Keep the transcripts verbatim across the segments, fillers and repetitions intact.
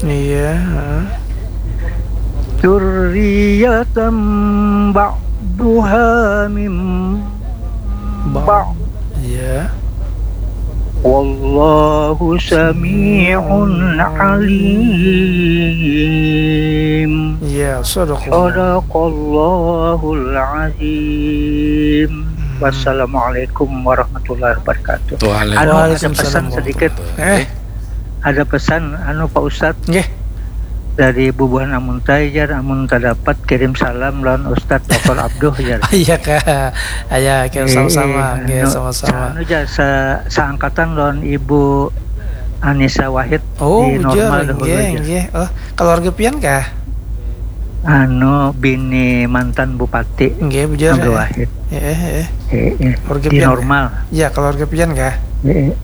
Iya, ha. Dzurriyyatan ba'duha min Ba- ba'd. Iya. Wallahu sami'un alim. Iya, sadaqallah. Sadaqallahul azim. Wassalamualaikum warahmatullahi wabarakatuh. Waalaikumsalam. Anu, ada pesan Waalaikumsalam sedikit. Eh, Ada pesan, anu, Pak Ustadz, nggih. Dari bubuhan Amuntai, jar, amun tadapat kirim salam lawan Ustadz Doktor Abduh, jar. Iya kah? Aya, kirim sama-sama. Eh, Nggih, anu, sama-sama. Anu, jar, sa- saangkatan lawan Ibu Anissa Wahid Oh, di bujur, Normal dahulu, nggih, jar. Nggih. Oh, keluarga pian kah? Anu, bini mantan bupati Nggih, bujur. Abdul Eh. Wahid. Eh, eh, eh. Eh, eh. Keluarga Di pian, Normal. Ya, keluarga pian kah? Eh, eh.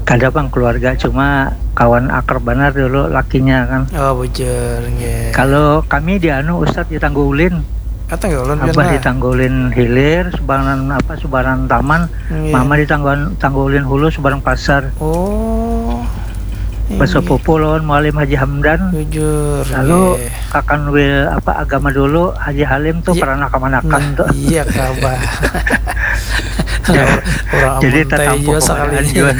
Kada, bang, keluarga, cuma kawan akrab banar dulu lakinya kan. Oh, bujur, nggih. Kalau kami di anu, Ustadz, di Tanggo Ulin. Kata nggak ulun pian Abah lah. Di Tanggo Ulin Hilir, subaran apa, subaran taman. Nggih. Mama di Tanggo, Tanggo Ulin Hulu, subaran pasar. Oh. Nggih. Basepupu lawan Mualim Haji Hamdan. Bujur. Lalu Nggih. Kakan Wil apa, agama dulu, Haji Halim tuh, Iya. Peranak Kamanakan Nah, tuh. Iya kah, Bah? Orang Jadi Amuntai tatampuh juga pemodaan sekalinya. Juga.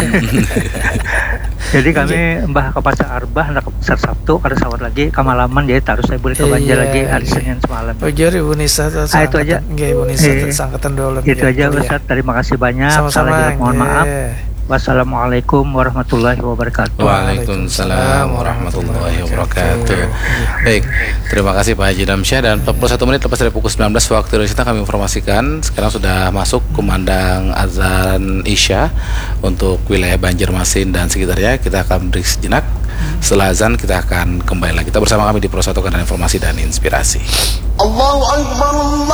Jadi kami mbah ke pasar Arbah, handak ke pasar Sabtu, kada sawat lagi, kamalaman, jadi tarus saya boleh ke Banjar Iya, lagi hari iya. Senin semalam. Bujur, Ibu Nisa, Ah, itu aja. Nggih, Ibu Nisa, Eh, sangkatan dulu. Itu aja, Ustadz. Terima kasih banyak. Sama-sama, Salah jelas, mohon maaf. Nggih. Wassalamualaikum warahmatullahi wabarakatuh. Waalaikumsalam warahmatullahi wabarakatuh. Baik, terima kasih Pak Haji Damsyah, dan empat puluh satu menit lepas dari pukul sembilan belas waktu Indonesia, kami informasikan sekarang sudah masuk kumandang azan Isya untuk wilayah Banjarmasin dan sekitarnya. Kita akan break sejenak. Setelah azan kita akan kembali lagi. Kita bersama kami di Pro satu Kanal Informasi dan Inspirasi. Allahu Akbar, Allahu